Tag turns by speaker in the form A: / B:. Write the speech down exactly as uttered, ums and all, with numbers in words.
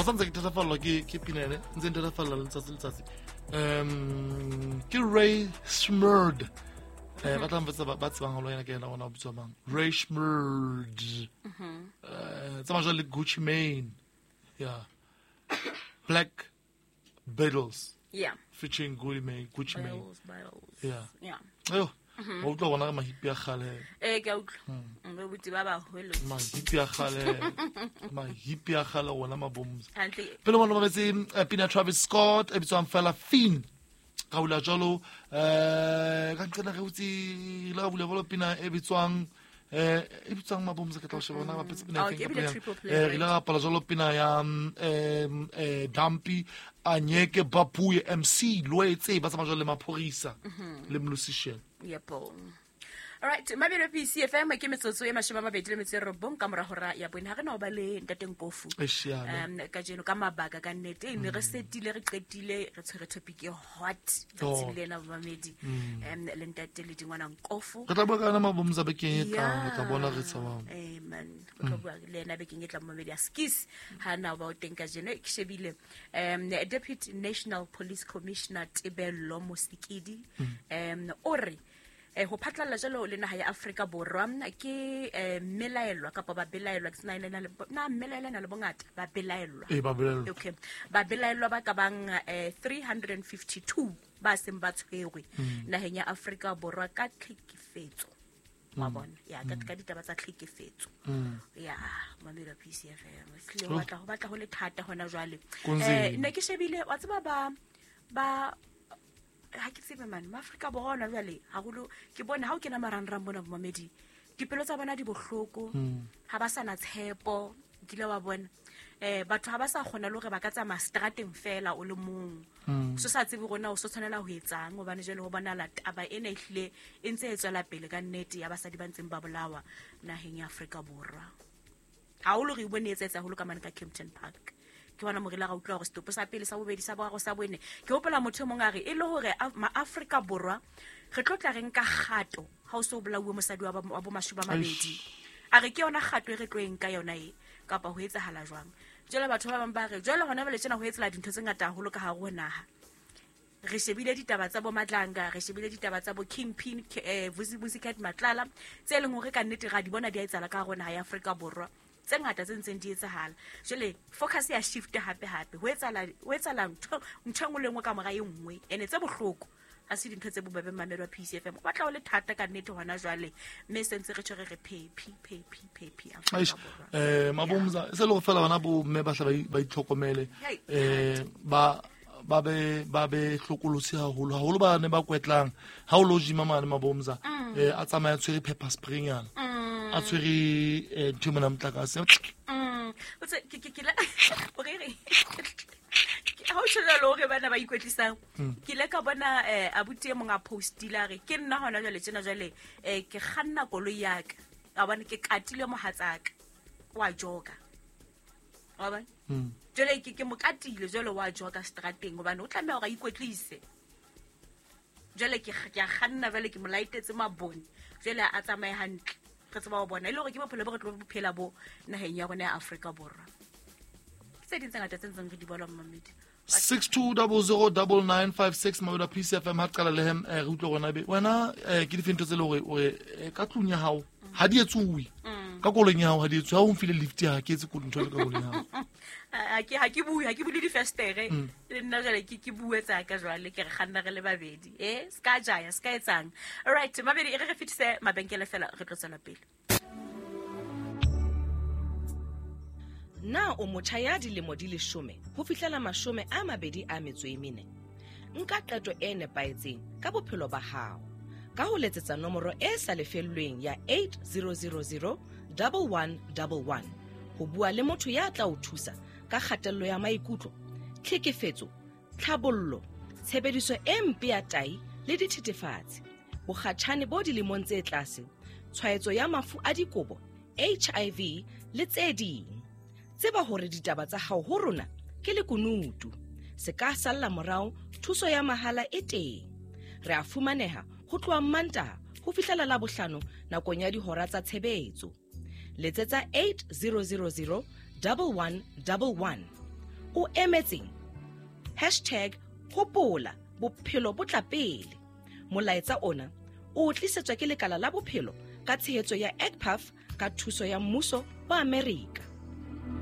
A: santse ke thatafallwa ke ke pina ene ntse nthatafalla letsatsi letsatsi um ke Ray Smurd eh ba tla mvetsa ba tsebang haholo yena ke yena ona o bitswa mang Ray Smurd eh tsamaya jwale le Gucci Mane yeah Black Beatles
B: yeah
A: featuring Gucci Mane Gucci Mane
B: Beatles
A: yeah
B: yeah
A: ayo wa utlwa bona ka mahipi a kgale
B: eh ke a utlwa mme botse ba baholo
A: mahipi a kgale mahipi a kgale ona mabomza
B: hantle
A: pele ngwana mametse pina Travis Scott e bitswang fela Finn ka bula jalo eh ka nqena re utse la bula bolo pina e bitswang eh e bitswang mabomza ke tla o sheba bona ba petse pina
B: Oh,
A: e
B: ke
A: feng
B: ebile
A: ka
B: triple play,
A: eh re
B: right?
A: ile ra bapala jalo pina ya eh eh Dumpy Anyeke Bapuye M C Loetse ba tsamaya jalo le Maphorisa le Musician
B: Yebo. All right, mabelo P C F M ke metsotso e mashome a mabedi le metso e robong ka mora hora ya bone. Ha re na ho ba le ntate Nkofu.
A: Eish,
B: Um kajeno ka mabaka ka nnete ne re setile re qetile re tshwere topic e hot
A: Oh.
B: tsatsing lena mamedi. Um le ntate le dingwana Nkofu.
A: Re tla bua ka yona mabomza bekeng e tlang re tla bona re tshabang
B: Eh man, re tla bua le ena bekeng e tlang mamedi a skis ha na ba o teng kajeno ke shebile um Deputy National Police Commissioner Tebello Mosikidi um o re eh ho phatlalla jalo le naha ya Afrika Borwa ke eh melaelwa kapa ba belaelwa ke sena ena le na melaelwa na le bongata ba belaelwa
A: eh ba belaelwa
B: okay ba belaelwa ba ka bang eh three hundred fifty-two ba seng ba tshwerwe naheng ya Afrika Borwa ka tlhekefetso wa bona ya ka ka ditaba tsa tlhekefetso ya mamelo P C F M tlile ho batla ho batla ho le thata hona jwale
A: Kunzima.
B: eh ne ke shebile wa tseba ba ba ha ke tsebe mane maAfrika Borwa ona jwale haholo ke bone ha o kena marangrang bona bomamedi dipelo tsa bona di bohloko ha ba sana tshepo kile wa bona eh batho ha ba sa kgona le hore ba ka tsamaya strateng fela o le mong so sa tsebe rona o so tshwanela ho etsang hobane jwale ho bonahala taba ena e hlile e ntse e tswela pele ka nnete ya basadi ba ntseng ba bolawa naheng ya Afrika Borwa haholo re bone e etsa haholo ka mane ka Kempton Park ke bona morila ga utlwa hore setopo sa pele sa bobedi sa boraro sa bone ke hopola motho e mong a re e le hore maAfrika Borwa re tlo tla re nka kgato ha o so bolauwe mosadi wa ba bo mashome a mabedi a re ke yona kgato e re tlo e nka yona e kapa ho etsahala jwang jwale batho ba bang ba re jwale hona jwale tjena ho etsela dintho tse ngata haholo ka hare ho naha re shebile ditaba tsa bo Matlanga re shebile ditaba tsa bo Kingpin eh Vusi Vusicat Matlala tse leng hore ka nnete ra di bona di a etsahala ka hare ho naha ya Afrika Borwa tse ngata tse ntseng di etsahala jwale focus ya shift hape hape ho etsahala ho etsahala ntho ntho e nngwe le nngwe ka mora e nngwe ene tse bohloko ha se dintho tse bobebe mamelo wa P C F M o batla ho le thata ka nnete hona jwale mme se ntse re tshwere re phephi phephi phephi Afrika
A: Eish,
B: Borwa
A: eh mabomza se le go fela bana bo mme ba hla ba itlhokomele
B: Hei.
A: eh ba ba be ba be hlokolotsi haholo haholo ba ne ba kwetlang ha o lo gym mane mabomza eh a tsamaya tshwere pepper spray nyana a tshwere eh ntho mona motlakase
B: Mm o tse ke ke ke la o re re ha o tjho jwalo hore bana ba ikwetlisang ke ile ka bona eh abuti e mong a postile a re ke nna hona jwale tjena jwale eh ke kganna koloi ya ka a bona ke katile mohatsaka wa joka wa bona jwale ke ke mo katile jwale wa joka strateng hobane o tlameha hore a ikwetlise jwale ke ke a kganna jwale ke mo laetetse mabone jwale a tsamaye hantle re tseba ho bona e le hore ke bophelo bo re tlo bophela bo naheng ya rona ya Afrika Borwa ke tse ding tse ngata tse ntseng re di bona mmamedi
A: six two double zero double nine five six mabelo a P C F M ha qala le hem re utlwe rona be wena eh ke dife ntho tse le hore o re ka tlung ya hao ha di etsuwe ka koloing ya hao ha di etsuwe ha o mfile lift ha ke etse ntho le ka koloing ya hao
B: ha ke ha ke bue ha ke bule difestere le nna jwale ke ke bue tsa ka jwale ke re kganna re le babedi eh ska jaya ska etsang all right mabedi e re re fetise mabenkele fela re tlo tswela pele
C: Na o motjha ya dilemo di leshome ho fihlela mashome a mabedi a metso e mene nka qeto e nepahetseng ka bophelo ba hao ka ho letsetsa nomoro e sa lefellweng ya eight zero zero zero double one double one ho bua le motho ya tla o thusa ka kgatello ya maikutlo tlhekefetso tlhabollo tshebediso e mpe ya tai le dithethefatsi bokgatjhane bo dilemong tse tlase tshwaetso ya mafu a dikobo H I V le tse ding tseba hore ditaba tsa hao ho rona ke lekunutu se ka salla morao thuso ya mahala e teng re a fumaneha ho tloha Mantaha ho fihlela Labohlano nakong ya dihora tsa tshebetso letsetsa eight zero zero zero double one double one O emetseng? Hashtag hopola bophelo bo tla pele. Molaetsa ona o tlisetswa ke lekala la bophelo ka tshehetso ya E C P A F ka thuso ya mmuso wa Amerika.